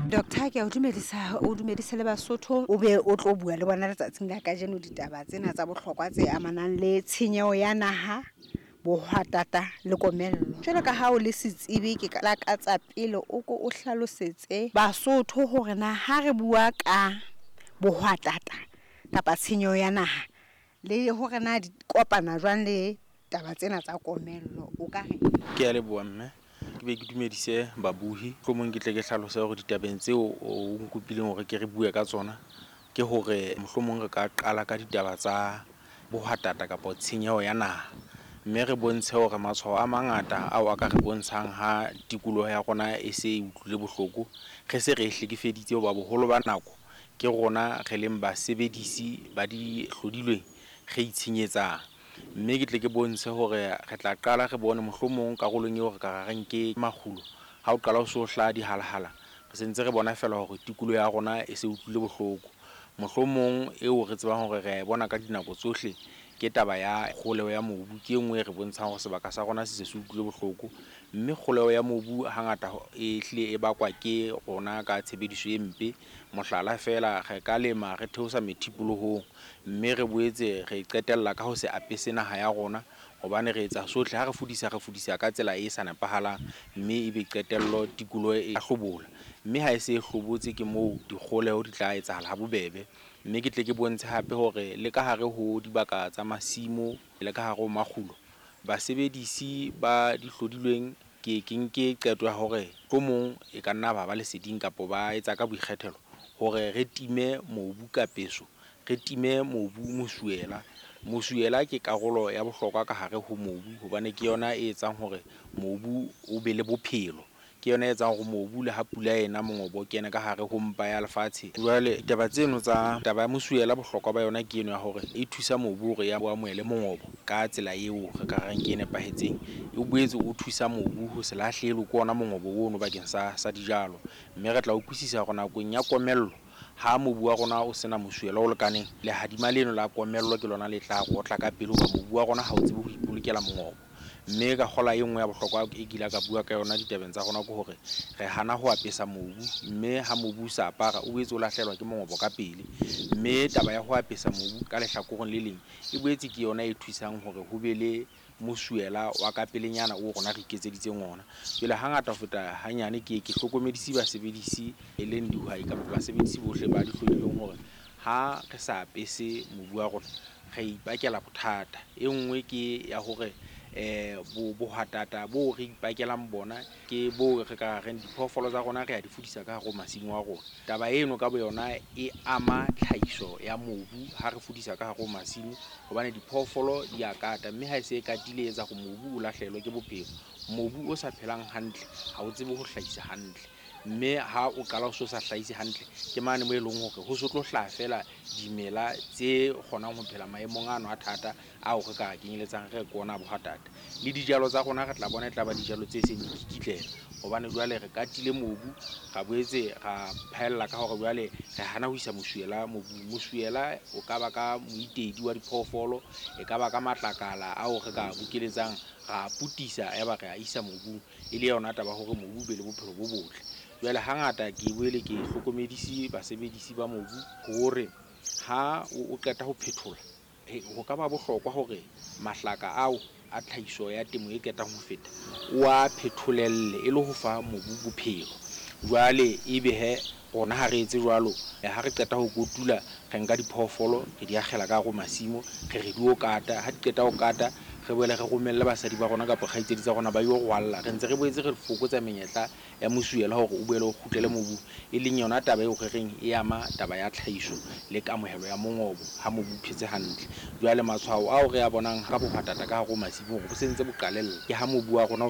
Doctor, ke a o dumedisa, o dumedise le Basotho, o be o tlo bua le bona letsatsing la kajeno ditaba tsena tsa bohlokwa tse amanang le tshenyeho ya naha, bohwatata le komello. Jwalo ka ha o le setsebi, ke lakatsa pele o ko o hlalosetse Basotho hore na ha re bua ka bohwatata kapa tshenyeho ya naha le hore na di kopana jwang le taba tsena tsa komello, o ka reng? Ke a leboha mme. Ke be ke dumedise babuhi. Mohlomong ke tle ke hlalose hore ditabeng tseo o nkopileng hore ke re bue ka tsona ke hore mohlomong re ka qala ka ditaba tsa bohwatata kapa tshenyeho ya naha. Mme re bontshe hore matshwao a mangata ao a ka re bontshang ha tikoloho ya rona e se e utlwile bohloko, re se re e hlekefeditse hoba boholo ba nako ke rona re leng basebedisi ba dihlodilweng re itshenyetsang. Mme ke tle ke bontshe hore re tla qala re bone mohlomong karolong eo re ka ra reng ke makgulo. Ha o qala o so hlaha dihalahala, re sentse re bona feela hore tikoloho ya rona e se utlwile bohloko. Mohlomong eo re tsebang hore re a e bona ka dinako tsohle ke taba ya kgoleho ya mobu, ke e nngwe e re bontshang hore sebaka sa rona se se se utlwile bohloko. Mme kgoleho ya mobu hangata e hlile e bakwa ke rona ka tshebediso e mpe. Mohlala feela, re ka lema re theosa methipolohong, mme re boetse re qetella ka ho se apese naha ya rona, hobane re etsa sohle ha re fudisa, re fudisa ka tsela e sa nepahalang, mme ebe qetello tikoloho e hlobola. Mme ha e se e hlobotse ke moo dikgoleho di tla etsahala ha bobebe. Mme ke tle ke bontshe hape hore le ka hare ho dibaka tsa masimo le ka hare ho makgulo, basebedisi ba dihlodilweng ke ke nke qeto ya hore mohlomong e ka nna ba ba leseding kapa ba etsa ka boikgethelo hore re time mobu ka peso, re time mobu mosuela. Mosuela ke karolo ya bohlokwa ka hare ho mobu hobane ke yona e etsang hore mobu o be le bophelo. Ke yona e etsang hore mobu le ha pula ena mongobo o kene ka hare ho mpa ya lefatshe. Jwale taba tseno tsa taba ya mosuela, bohlokwa ba yona ke eno ya hore e thusa mobu hore ya o amohele mongobo ka tsela eo re ka reng ke e nepahetseng. E boetse o thusa mobu ho se lahlehelwe ke ona mongobo ono bakeng sa dijalo. Mme re tla utlwisisa hore nakong ya komello ha mobu wa rona o sena mosuela o lekaneng, lehadima leno la komello ke lona le tla rotla ka pele hoba mobu wa rona ha o tsebe ho ipolokela mongobo. Mme ka kgola e nngwe ya bohlokwa e ke ile ka bua ka yona ditabeng tsa rona ke hore re hana ho apesa mobu, mme ha mobu o sa apara o boetse o lahlehelwa ke mongobo ka pele. Mme taba ya ho apesa mobu ka lehlakoreng le leng e boetse ke yona e thusang hore ho be le mosuela wa ka pelenyana o rona re iketseditseng ona. Jwale hangata ho feta hanyane ke ke hlokomedise basebedisi e leng dihwai kapa basebedisi bohle ba dihlodilweng hore ha re sa apese mobu wa rona re ipakela bothata. E nngwe ke ya hore bohwatata bo re ipakelang bona ke bo re ka reng diphoofolo tsa rona re a di fudisa ka hare ho masimo a rona. Taba eno ka boyona e ama tlhahiso ya mobu ha re fudisa ka hare ho masimo, hobane diphoofolo di a kata, mme ha e se e katile e etsa hore mobu o lahlehelwe ke bophelo. Mobu o sa phelang hantle ha o tsebe ho hlahisa hantle, mme ha o qala o so sa hlahise hantle ke mane moo e leng hore ho so tlo hlaha feela dimela tse kgonang ho phela maemong ano a thata ao re ka kenyeletsang re ke ona bohwatata. Le dijalo tsa rona re tla bona e tla ba dijalo tse seng di kikitlela, hobane jwale re katile mobu, ra boetse ra phaella ka hore jwale re hana ho isa mosuela mobung. Mosuela o ka ba ka moitedi wa diphoofolo, e ka ba ka matlakala ao re ka bokeletsang ra putisa ya ba re a isa mobung, e le yona taba hore mobu o be le bophelo bo botle. Jwale hangata ke boele ke hlokomedise basebedisi ba mobu hore ha o qeta ho phethola, ho ka ba bohlokwa hore mahlaka ao a tlhahiso ya temo e qetang ho feta o a phetholelle e le ho fa mobu bophelo. Jwale ebe he rona ha re etse jwalo, ha re qeta ho kotula re nka diphoofolo re di akgela ka hare ho masimo, re re di o kata. Ha di qeta ho kata re boele re romelle basadi ba rona kapa kgaitsedi tsa rona ba yo rwalla. Re ntse re boetse re fokotsa menyetla ya mosuela hore o boele o kgutlele mobung, e leng yona taba eo re reng e ama taba ya tlhahiso le kamohelo ya mongobo ha mobu o phetse hantle. Jwale matshwao ao re a bonang ka bohwatata ka hare ho masimo hore bo sentse bo qalella ke ha mobu wa rona